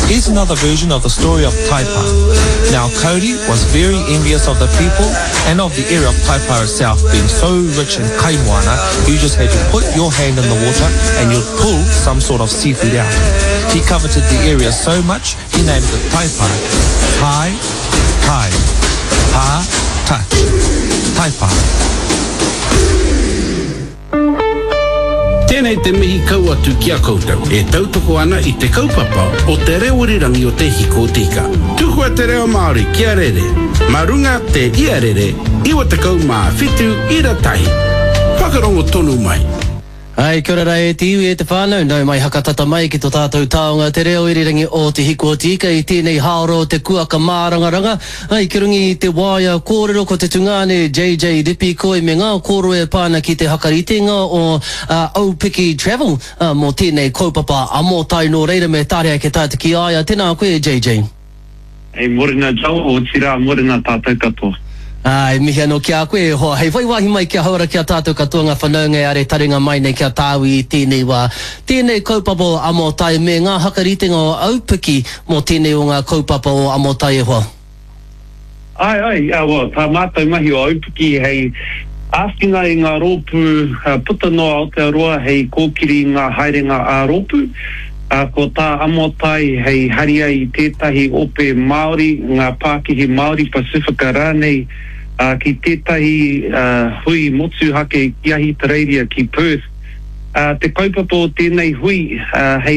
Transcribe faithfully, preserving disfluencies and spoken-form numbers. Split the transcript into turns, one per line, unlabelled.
Here's another version of the story of Taipa. Now Kauri was very envious of the people and of the area of Taipa itself being so rich in kaimoana, you just had to put your hand in the water and you'd pull some sort of seafood out. He coveted the area so much, he named it Taipa. Tai, Tai, Pa, touch. Taipa.
Tēnei te mihi kau atu ki a koutou e tautoko ana i te kaupapa o te reo irirangi o Te Hiko o Te Ika. Tukua te reo Māori kia rere, mā runga te iarere iwa tekau mā whitu ira tahi. Whakarongo tonu mai.
Ai, kia ora rā e te iwi, e te whānau, nau mai hakatata mai ki to tātou taonga te reo irirangi o Te Hiko o Te Ika i tēnei hāora o te kuaka mārangaranga. Ai, ki runga i te waea kōrero ko te tungāne J J Ripikoi me ngā kōrero e pā ana ki te hakaritenga o Aupiki Travel mō tēnei kaupapa amotai nō reira me tarea ake tātou ki a ia. Tēnā koe J J.
Hei morena Joel, otirā morena tātou katoa.
Ā, e mihi anō ki a koe, e hoa, hei whai wāhi mai kia hauora ki a tātou katoa ngā whanaunga e are taringa mai nei ki a tāu i tēnei wā. Tēnei kaupapa o Amotai me ngā hakaritenga o Aupiki mō tēnei o ngā kaupapa o Amotai e hoa.
Āe, āe, ā, well, tā mātou mahi o Aupiki hei āwhina i ngā rōpū puta noa Aotearoa hei kōkiri i ngā haerenga ā-rōpū. Ā, ko tā Amotai hei haria i tētahi ope Māori, ngā pākihi Māori Pasifika rānei, ā, ki tētahi hui motuhake ki Ahitereiria, ki Perth. Ā, te kaupapa o tēnei hui, ā, hei.